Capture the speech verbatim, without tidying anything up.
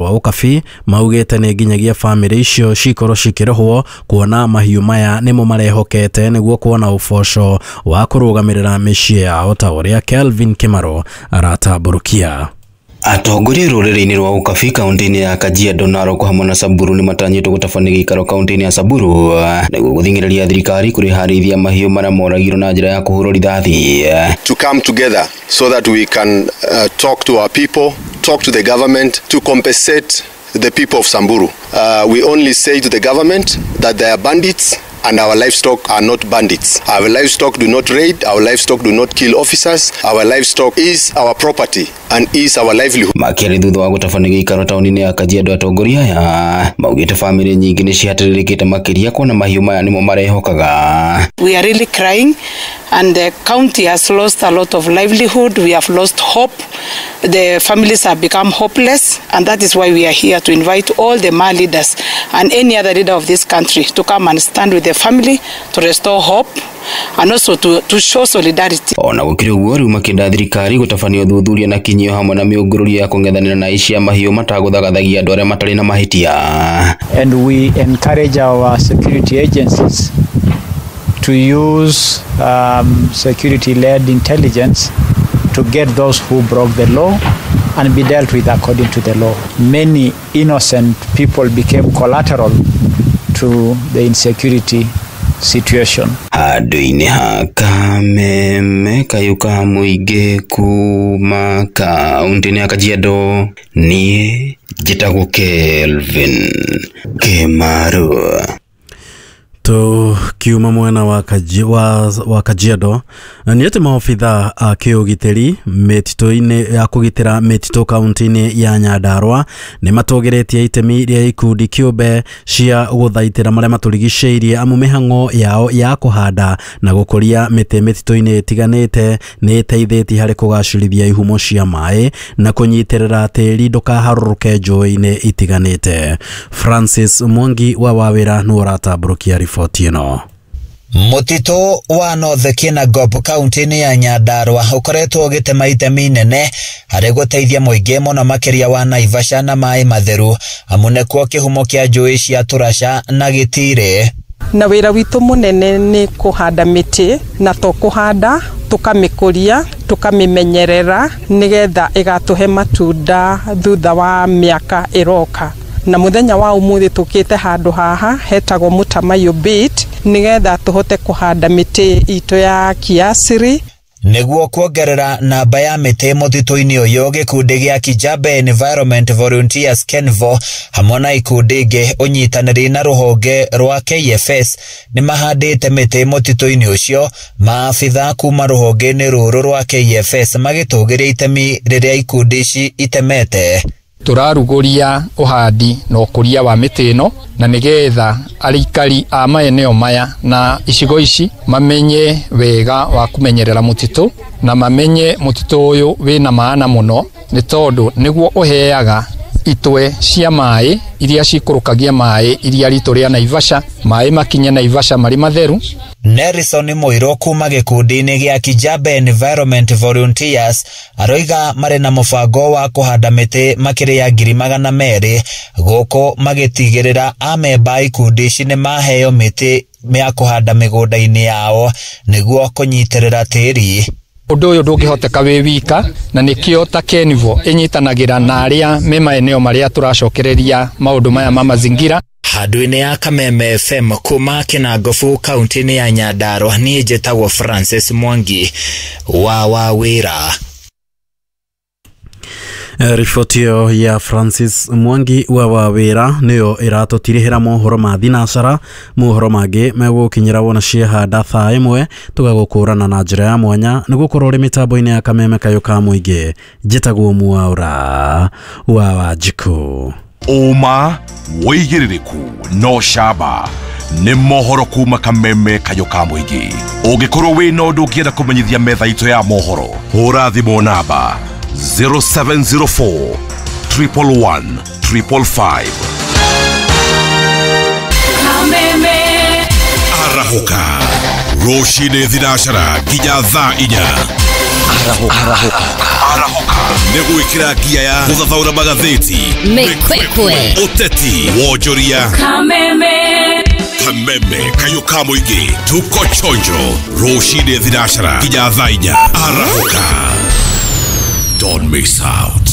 Rwa Ũkabi maugĩte nĩ nginyagia bamĩrĩ icio cikorwo cikĩrĩhwo kuona mahiũ maya nĩmo marehokete nĩguo kuona ũboco wa kũrũgamĩrĩra mĩciĩ yao ta ũrĩa Kelvin Kimaro aratambũrũkia. Atongoria rũrĩrĩ-inĩ rwa Ũkabi kaunti-inĩ ya Kajiado, Narok hamwe na Samburu nĩmatanyĩtwo gũtabania gĩikaro kaunti-inĩ ya Samburu nĩguo gũthing'ĩrĩria thirikari kũrĩha arĩithia mahiũ marĩa moragirwo na njĩra ya kũhũrwo rithathi. To come together so that we can uh, talk to our people, talk to the government to compensate the people of Samburu. Uh, we only say to the government that they are bandits and our livestock are not bandits. Our livestock do not raid, our livestock do not kill officers, our livestock is our property and is our livelihood. Makĩaria thutha wa gũtabania gĩikaro taũni-inĩ ya Kajiado, atongoria aya maugĩte bamĩrĩ nyingĩ nĩ cihatĩrĩrĩkĩte makĩria kuona mahiũ maya nĩmo marehokaga. We are really crying and the county has lost a lot of livelihood. We have lost hope. The families have become hopeless, and that is why we are here to invite all the Maa leaders and any other leader of this country to come and stand with the family to restore hope and also to, to show solidarity. Ona gũkĩrĩ ũguo, rĩu makĩenda thirikari gũtabania ũthuthuria na kinyio hamwe na mĩũngũrũrio ya kũng'ethanĩra na aici a mahiũ matagũthagathagia andũ arĩa matarĩ na mahĩtia. And we encourage our security agencies to use um, security-led intelligence to get those who broke the law and be dealt with according to the law. Many innocent people became collateral to the insecurity situation. Handũ-inĩ ha Kameme kayũ ka mũingĩ kuma kaunti-inĩ ya Kajiado, niĩ njĩtagwo Kelvin Kimaru. Tukiuma mwena wa, Kaji, wa, wa Kajiado nĩ atĩ maobitha a kĩũgitĩri mĩtitũ-inĩ ya kũgitĩra mĩtitũ kaunti-inĩ ya Nyandarua nĩ matũgĩrĩtie itemi rĩa ikundi kĩũmbe cia gũthaitĩra marĩa matũrigicĩirie amu mĩhang'o yao ya kũhanda na gũkũria mĩtĩ mĩtitũ-inĩ ĩtiganĩte nĩ ĩteithĩtie harĩ kũgacĩrithia ihumo cia maĩ na kũnyitĩrĩra tĩri ndũkaharũrũke njũĩ-inĩ itiganĩte. Francis Mwangi wa Wawĩra nĩwe ũratambũrũkia riboti ĩno. Mũtitũ wa North Kinangop kaunti-inĩ ya Nyandarua ũkoretwo ũgĩtema itemi inene harĩ gũteithia mũingĩ mũno makĩria wa Naivasha na maĩ matheru, amu nĩkuo kĩhumo kĩa njũĩ cia Tũraca na Gĩtirĩ. Na wĩra witũ mũnene nĩ kũhanda mĩtĩ, na to kũhanda tũkamĩkũria tũkamĩmenyerera nĩgetha ĩgatũhe matunda thutha wa mĩaka ĩroka. Na mũthenya wa ũmũthĩ tũkĩte handũ haha hetagwo Mũtamaiyũ Bit nĩgetha tũhote kũhanda mĩtĩ itũ ya kiasiri. Nĩguo kuongerera namba ya mĩtĩ mũtitũ-inĩ ũyũ, gĩkundi gĩa Kijabe Environment Volunteers Kenvo hamwe na ikundi ingĩ ũnyitanĩri na rũhonge rwa K F S nĩmahandĩte mĩtĩ mũtitũ-inĩ ũcio. Maabitha kuma rũhonge-inĩ rũrũ rwa K F S magĩtũgĩria itemi rĩrĩa ikundi ici itemete. Tũrarugũria ũhandi na ũkũria wa mĩtĩ ĩno na nĩgetha arikari a maeneo maya na icigo ici mamenye wega wa kũmenyerera mũtitũ na mamenye mũtitũ ũyũ wĩna maana mũno, nĩ tondũ nĩguo ũheaga itwe cia maĩ iria cikũrũkagia maĩ iria ritũ rĩa Naivasha, maĩ makinye Naivasha marĩ matheru. Nelson Mũirũ kuma gĩkundi-inĩ gĩa Kijabe Environment Volunteers aroiga marĩ na mũbango wa kũhanda mĩtĩ makĩria ya ngiri magana merĩ gũkũ magĩtigĩrĩra amemba ikundi ici nĩ maheo mĩtĩ ya kũhanda mĩgũnda-inĩ yao nĩguo kũnyitĩrĩra tĩri. Ũndũ ũyũ ndũngĩhoteka wĩ wika, na nĩkĩo ta Kenvo ĩnyitanagĩra na arĩa me maeneo marĩa tũracokereria maũndũ maya ma mazingira. Handũ-inĩ ya Kameme F M kuma Kinangofu kaunti-inĩ ya Nyandarua, niĩ njĩtagwo Francis Mwangi wa Wawĩra. Riboti ĩyo ya Francis Mwangi wa Wawĩra nĩyo ĩratũtirihĩra mohoro ma thinacara. Mohoro mangĩ megũkinyĩra wona ciehanda thaa ĩmwe tũgagũkũrana na njĩra ya mwanya nĩ gũkorwo ũrĩ mĩtambo-inĩ ya Kameme kayũ ka mũingĩ. Njĩtagwo Mwaũra wa Wanjikũ. Ũma wĩigĩrĩrĩku no camba nĩ mohoro kuma Kameme kayũ ka mũingĩ. Ũngĩkorwo wĩna ũndũ ũngĩenda kũmenyithia metha itũ ya mohoro, hũra thimũ namba zero seven zero four triple one triple five. Kameme Arahũka rũcinĩ thinacara nginya thaa inya. Arahũka. Arahũka. Arahũka. Nĩ gwĩkĩra ngia ya gũthathaũra magathĩti, Mĩkwekwe, ũteti, wonjoria, Kameme, Kameme kayũ ka mũingĩ. Tuko chonjo rũcinĩ thinacara nginya thaa inya arahũka. Don't miss out.